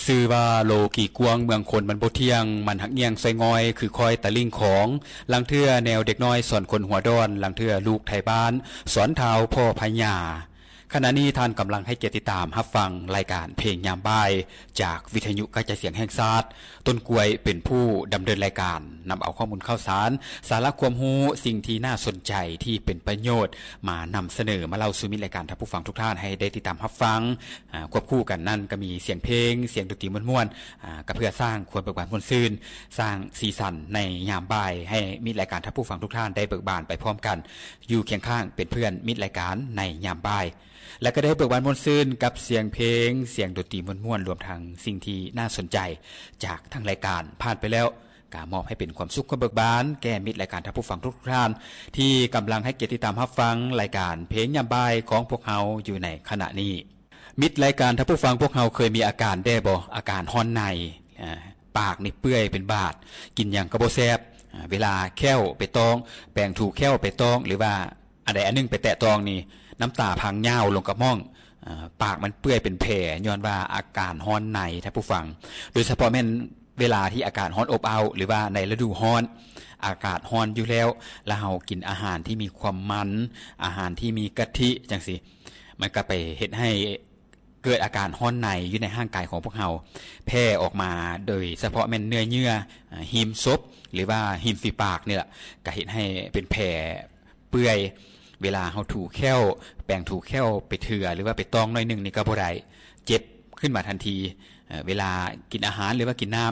ຊື່ວ່າໂລກີກວາງເມືອງຄົນມັນບໍ່ທ່ຽງ, ມັນຫັກຍ່ຽງຊອຍງ່ອຍ ຄືຄອຍຕະລິ່ງຂອງ, ລາງເທື່ອແນວເດັກນ້ອຍສອນຄົນຫົວດອນ, ລາງເທື່ອລູກໄທບ້ານສອນທ້າວພໍ່ພະຍາ. ຂະນະນີ້ທ່ານກຳລັງໃຫ້ກຽດຕິດຕາມຮັບຟັງລາຍການເພງຍາມບ່າຍ ຈາກວິທະຍຸກະຈາຍສຽງແຫ່ງຊາດ, ຕົ້ນກ້ວຍເປັນຜູ້ດຳເນີນລາຍການ, ນຳເອົາຂໍ້ມູນຂ່າວສານ, ສາລະຄວາມຮູ້, ສິ່ງທີ່ໜ້າສົນໃຈ, ທີ່ເປັນປະໂຫຍດ ມານຳສະເໜີ, ມາເລົ່າສູ່ມິດລາຍການທ່ານຜູ້ຟັງທຸກທ່ານໃຫ້ໄດ້ຕິດຕາມຮັບຟັງ. ອາ ຄວບຄູ່ກັນນັ້ນກໍມີສຽງເພງ, ສຽງດົນຕີມ່ວນໆ, ອາ ກໍເພື່ອສ້າງຄວາມເບີກບານມ່ວນຊື່ນ, ສ້າງສີສັນໃນຍາມບ່າຍ ໃຫ້ມິດລາຍການທ່ານຜູ້ຟັງທຸກທ່ານໄດ້ເບີກບານໄປພ້ອມກັນ, ຢູ່ຄຽງຂ້າງເປັນເພື່ອນມິດລາຍການໃນຍາມບ່າຍ ແລະ ກໍໄດ້ເບີກບານມ່ວນຊື່ນກັບສຽງເພງ, ສຽງດົນຕີມ່ວນໆ, ລວມທັງສິ່ງທີ່ໜ້າສົນໃຈຈາກທາງລາຍການຜ່ານໄປແລ້ວ, ກະມອບໃຫ້ເປັນຄວາມສຸກຄວາມເບີກບານແກ່ມິດລາຍການທ່ານຜູ້ຟັງທຸກໆທ່ານ ທີ່ກຳລັງໃຫ້ກຽດຕິດຕາມຮັບຟັງລາຍການເພງຍາມບ່າຍຂອງພວກເຮົາຢູ່ໃນຂະນະນີ້. ມິດລາຍການທ່ານຜູ້ຟັງ, ພວກເຮົາເຄີຍມີອາການແດ່ບໍ່? ອາການຮ້ອນໃນ, ອາ ປາກນີ້ເປື່ອຍເປັນບາດ, ກິນຫຍັງກໍບໍ່ແຊບ, ອາ ເວລາແຂ້ວໄປຕ້ອງ, ແປງຖູແຂ້ວໄປຕ້ອງ ຫຼືວ່າອັນໃດອັນໜຶ່ງໄປແຕະຕ້ອງນີ້ ນ້ຳຕາພັງຍາວລົງກັບໝ້ອງ, ອາ ປາກມັນເປື່ອຍເປັນແຜ ຍ້ອນວ່າອາການຮ້ອນໃນ ທ່ານຜູ້ຟັງ. ໂດຍສະເພາະແມ່ນ ເວລາທີ່ອາກາດຮ້ອນອົບເອົ້າ ຫຼືວ່າໃນລະດູຮ້ອນ, ອາກາດຮ້ອນຢູ່ແລ້ວ, ແລ້ວເຮົາກິນອາຫານທີ່ມີຄວາມມັນ, ອາຫານທີ່ມີກະທິ ຈັ່ງຊີ້, ມັນກໍໄປເຮັດໃຫ້ເກີດອາການຮ້ອນໃນຢູ່ໃນຮ່າງກາຍຂອງພວກເຮົາ ແຜ່ອອກມາ, ໂດຍສະເພາະແມ່ນເນື້ອເຍື່ອ, ອາ, ຮິມສົບ ຫຼືວ່າລິມຝີປາກນີ້ລະ, ກໍເຮັດໃຫ້ເປັນແຜ ເປື່ອຍ, ເວລາເຮົາຖູແຂ້ວ, ແປງຖູແຂ້ວໄປເທື່ອ ຫຼືວ່າໄປຕ້ອງໜ້ອຍໜຶ່ງນີ້ກໍບໍ່ໄດ້, ເຈັບຂຶ້ນມາທັນທີ. ເອີ ເວລາກິນອາຫານ ຫຼືວ່າກິນນ້ຳ,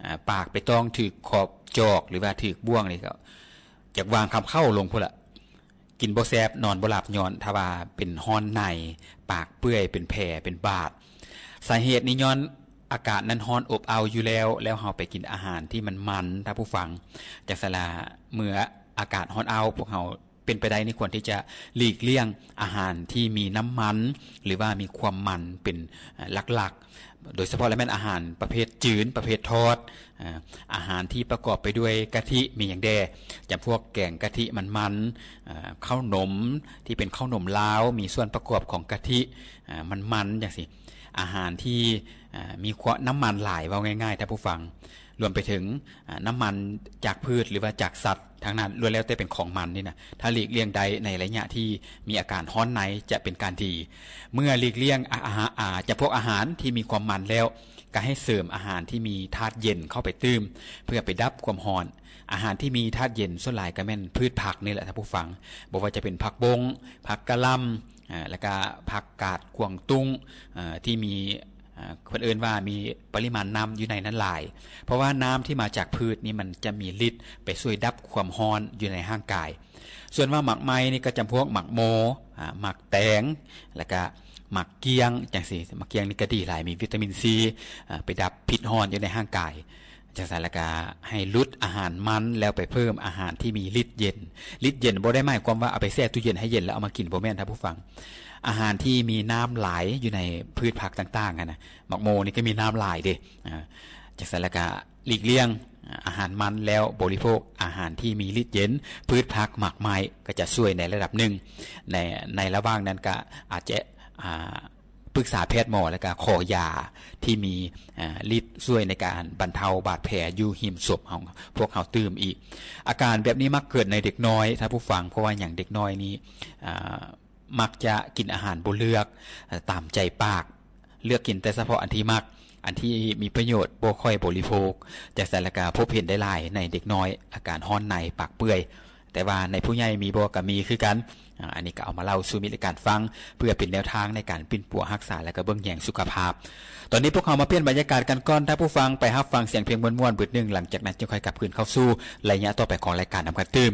ອາ, ປາກໄປຕ້ອງຖືກຂອບຈອກ ຫຼືວ່າຖືກບ່ວງນີ້ ກໍຢາກວາງຄຳເຂົ້າລົງພຸ້ນລະ. ກິນບໍ່ແຊບ, ນອນບໍ່ຫຼັບ, ຍ້ອນຖ້າວ່າເປັນຮ້ອນໃນ, ປາກເປື່ອຍ, ເປັນແຜ, ເປັນບາດ. ສາເຫດນີ້ຍ້ອນອາກາດນັ້ນຮ້ອນອົບເອົ້າຢູ່ແລ້ວ, ແລ້ວເຮົາໄປກິນອາຫານທີ່ມັນມັນ, ທ່ານຜູ້ຟັງ. ຈັ່ງຊັ້ນລະ, ເມື່ອອາກາດຮ້ອນເອົ້າ, ພວກເຮົາ ເປັນໄປໄດ້ນີ້ຄວນທີ່ຈະຫຼີກລ່ຽງອາຫານທີ່ມີນ້ຳມັນ ຫຼືວ່າມີຄວາມມັນເປັນ ເອີ ຫຼັກໆ, ໂດຍສະເພາະແລ້ວແມ່ນອາຫານປະເພດຈືນ, ປະເພດທອດ, ເອີ ອາຫານທີ່ປະກອບໄປດ້ວຍກະທິ ມີຫຍັງແດ່? ຈຳພວກແກງກະທິມັນໆ, ເອີ ເຂົ້າໜົມທີ່ເປັນເຂົ້າໜົມລາວ ມີສ່ວນປະກອບຂອງກະທິ ເອີ ມັນໆ ຈັ່ງຊີ້. ອາຫານທີ່ ເອີ ມີຄວາມ ນ້ຳມັນຫຼາຍ, ເວົ້າງ່າຍໆ ທ່ານຜູ້ຟັງ, ລວມໄປເຖິງ ອາ ນ້ຳມັນຈາກພືດ ຫຼືວ່າຈາກສັດ ທັງນັ້ນ ລ້ວນແລ້ວແຕ່ເປັນຂອງມັນນີ້ນະ, ຖ້າຫຼີກລ່ຽງໄດ້ໃນໄລຍະທີ່ມີອາການຮ້ອນໃນ ຈະເປັນການດີ. ເມື່ອຫຼີກລ່ຽງ ອາ ອາຫາ ອາ ຈຳພວກອາຫານທີ່ມີຄວາມມັນແລ້ວ, ກໍໃຫ້ເສີມອາຫານທີ່ມີທາດເຢັນເຂົ້າໄປຕື່ມ ເພື່ອໄປດັບຄວາມຮ້ອນ. ອາຫານທີ່ມີທາດເຢັນສ່ວນຫຼາຍກໍແມ່ນພືດຜັກນີ້ແຫຼະ ທ່ານຜູ້ຟັງ, ບໍ່ວ່າຈະເປັນຜັກບົ້ງ, ຜັກກະຫຼ່ຳ, ອາ ແລ້ວກະຜັກກາດກວາງຕຸ້ງ, ອາ ທີ່ມີ ອາ ເພິ່ນເອີ້ນວ່າມີປະລິມານນ້ຳຢູ່ໃນນັ້ນຫຼາຍ, ເພາະວ່ານ້ຳທີ່ມາຈາກພືດນີ້ມັນຈະມີລິດໄປຊ່ວຍດັບຄວາມຮ້ອນຢູ່ໃນຮ່າງກາຍ. ສ່ວນວ່າໝາກໄມ້ນີ້ກໍຈຳພວກໝາກໂມ, ອາ ໝາກແຕງ, ແລ້ວກະໝາກກ້ຽງ ຈັ່ງຊີ້. ໝາກກ້ຽງນີ້ກໍດີຫຼາຍ, ມີວິຕາມິນຊີ, ອາ ໄປດັບພິດຮ້ອນຢູ່ໃນຮ່າງກາຍ. ຈັ່ງຊັ້ນແລ້ວກໍໃຫ້ຫຼຸດອາຫານມັນ ແລ້ວໄປເພີ່ມອາຫານທີ່ມີລິດເຢັນ. ລິດເຢັນບໍ່ໄດ້ໝາຍຄວາມວ່າເອົາໄປແຊ່ຕູ້ເຢັນໃຫ້ເຢັນແລ້ວເອົາມາກິນ, ບໍ່ແມ່ນທ່ານຜູ້ຟັງ. ອາຫານທີ່ມີນ້ຳຫຼາຍຢູ່ໃນພືດຜັກຕ່າງໆ ຫັ້ນນະ, ໝາກໂມນີ້ກໍມີນ້ຳຫຼາຍເດ້. ອາ ຈັ່ງຊັ້ນແລ້ວກໍຫຼີກລ່ຽງອາຫານມັນ ແລ້ວບໍລິໂພກອາຫານທີ່ມີລິດເຢັນ, ພືດຜັກ, ໝາກໄມ້ ກໍຈະຊ່ວຍໃນລະດັບໜຶ່ງ. ໃນ ໃນລະຫວ່າງນັ້ນກໍອາດຈະ ອາ ປຶກສາແພດໝໍ ແລ້ວກະຂໍຢາທີ່ມີ ອາ ລິດຊ່ວຍໃນການບັນເທົາບາດແຜຢູ່ຮິມສົບຂອງພວກເຮົາຕື່ມອີກ. ອາການແບບນີ້ມັກເກີດໃນເດັກນ້ອຍ ທ່ານຜູ້ຟັງ. ເພາະວ່າຫຍັງ? ເດັກນ້ອຍນີ້ ອາ ມັກຈະກິນອາຫານບໍ່ເລືອກ ເອີ ຕາມໃຈປາກ, ເລືອກກິນແຕ່ສະເພາະອັນທີ່ມັກ, ອັນທີ່ມີປະໂຫຍດບໍ່ຄ່ອຍບໍລິໂພກ. ຈັ່ງຊັ້ນແລ້ວກະພົບເຫັນໄດ້ຫຼາຍໃນເດັກນ້ອຍ ອາການຮ້ອນໃນ, ປາກເປື່ອຍ. ແຕ່ວ່າໃນຜູ້ໃຫຍ່ມີບໍ່? ກໍມີຄືກັນ. ອາ ອັນນີ້ກໍເອົາມາເລົ່າສູ່ມິດລາຍການຟັງ ເພື່ອເປັນແນວທາງໃນການປິ່ນປົວຮັກສາ ແລະ ກໍເບິ່ງແຍງສຸຂະພາບ. ຕອນນີ້ພວກເຮົາມາປ່ຽນບັນຍາກາດກັນກ່ອນ ທ່ານຜູ້ຟັງ, ໄປຮັບຟັງສຽງເພງມ່ວນໆບຶດໜຶ່ງ, ຫຼັງຈາກນັ້ນຈຶ່ງຄ່ອຍກັບຄືນເຂົ້າສູ່ໄລຍະຕໍ່ໄປຂອງລາຍການນຳກັນຕື່ມ.